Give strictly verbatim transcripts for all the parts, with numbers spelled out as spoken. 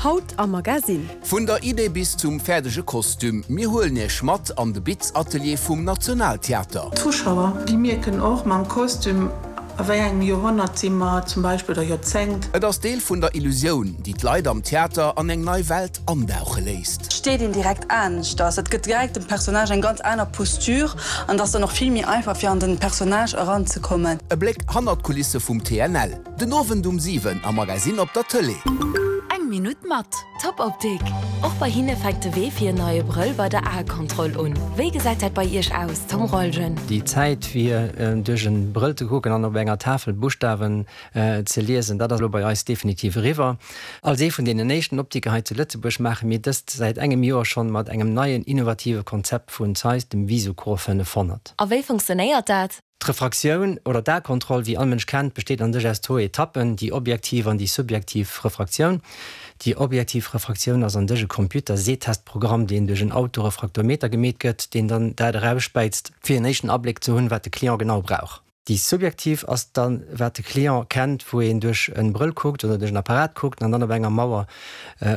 Haut am Magasinn. Vun der Idee bis zum fäerdege Kostüm, mir huelen Iech mat an de Bitzatelier vum Nationaltheater. D'Zuschauer, déi mierken och mam Kostüm, a wéi engem Joerhonnert si mer zum Beispill, oder Joerzéngt. Et ass Deel vun der Illusioun, déi d'Leit am Theater an eng nei Welt andauche léisst. Et steet een direkt aneschters, et gëtt direkt dem Personnage eng ganz aner Posture an et ass dann och vill méi einfach fir an den Personnage eranzekommen. E Bléck hannert d'Kulisse vum T N L, den Owend um siwen am Magasinn op der Tëlee. Eng Minutt mat Top Optik. Och bei hinne fänkt de Wee fir en neie Brëll bei der Aekontroll un. Wéi gesäit dat bei Iech aus, Tom Rolgen? Déi Zäit fir duerch e Brëll ze kucken an op enger Tafel Buschtawen ze liesen, dat ass elo bei eis definitiv eriwwer. Als ee vun deenen éischten Optiker hei zu Lëtzebuerg maache mir dëst säit engem Joer schonn mat engem neien innovative Konzept vun Zeiss, dem Visocor fënnefhonnert. A wéi funktionéiert dat? D'Refraktioun oder d'Aekontroll, wéi all Mënsch kennt, besteet an sech aus zwou Etappen, déi objektiv an déi subjektiv Refraktioun. Déi objektiv Refraktioun ass an sech e Computer-Sehtestprogramm, deen duerch en Autorefraktometer gemeet gëtt, deen dann dat erauspäizt, fir en éischten Abléck ze hunn, wat de Client genau brauch. Déi subjektiv ass dann, wat de Client kennt, wou een duerch e Brëll kuckt oder duerch en Apparat kuckt an dann op enger Mauer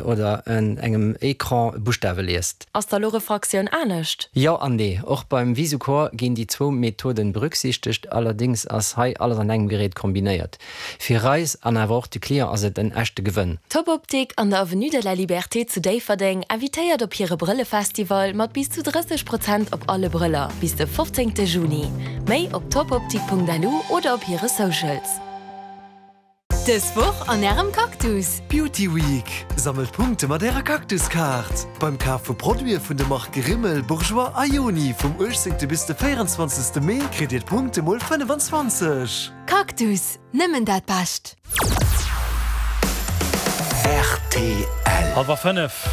oder en engem Ecran Buschtawe liest. Ass da lo Refraktioun anescht? Jo an nee. Och beim Visocor ginn déi zwou Methoden berücksichtegt, allerdéngs ass hei alles an engem Gerät kombinéiert. Fir eis an awer och de Client ass et en echte Gewënn. Top Optik an der Avenue de la Liberté zu Déifferdeng invitéiert op hire Brëllefestival mat bis zu drësseg Prozent op alle Brëller bis de fofzéngte Juni. Méi op topoptik Punkt lu oder op hire Socials. Dës Woch an Ärem Cactus! Beauty Week! Sammelt Punkte mat Ärer Cactus-Kaart! Beim Kaf vu Produite vun de Marke Rimmel, Bourjois a Yoni vum uechtzéngte bis de véierenzwanzegste Mee kritt Dir d'Punkte mol fënnefenzwanzeg! Cactus, nëmmen dat Bescht! Rtl. Hallwer fënnef.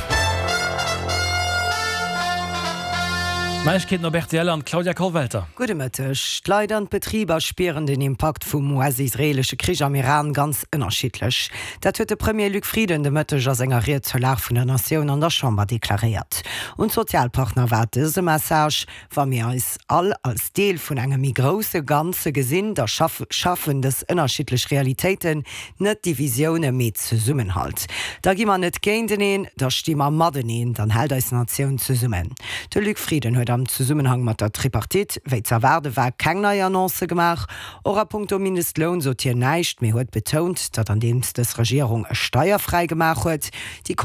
Neiegkeeten op rtl an d'Claudia Kollwelter. Gudde Mëtteg. D'Leit an d'Betriber spieren den Impakt vum U S-israeelesche Krich am Iran ganz ënnerschiddlech. Dat huet de Premier Luc Frieden de Mëtteg a senger Ried zur Lag vun der Natioun an der Chamber deklaréiert. Un d'Sozialpartner war dëse Message, Wa mir eis all als Deel vun engem méi grousse Ganze gesinn, da schaffen dës ënnerschiddlech Realitéiten net Divisioune mee Zesummenhalt. Da gi mer net géinteneen, da sti mer mateneen, dann hält eis Natioun zesummen. De Luc Frieden huet am Zesummenhang mat der Tripartite, wéi ze erwaarde war, keng nei Annoncë gemaach. Och a punkto Mindestloun sot hien näischt, mee huet betount, datt andeems dës Regierung e steierfräi gemaach huet, déi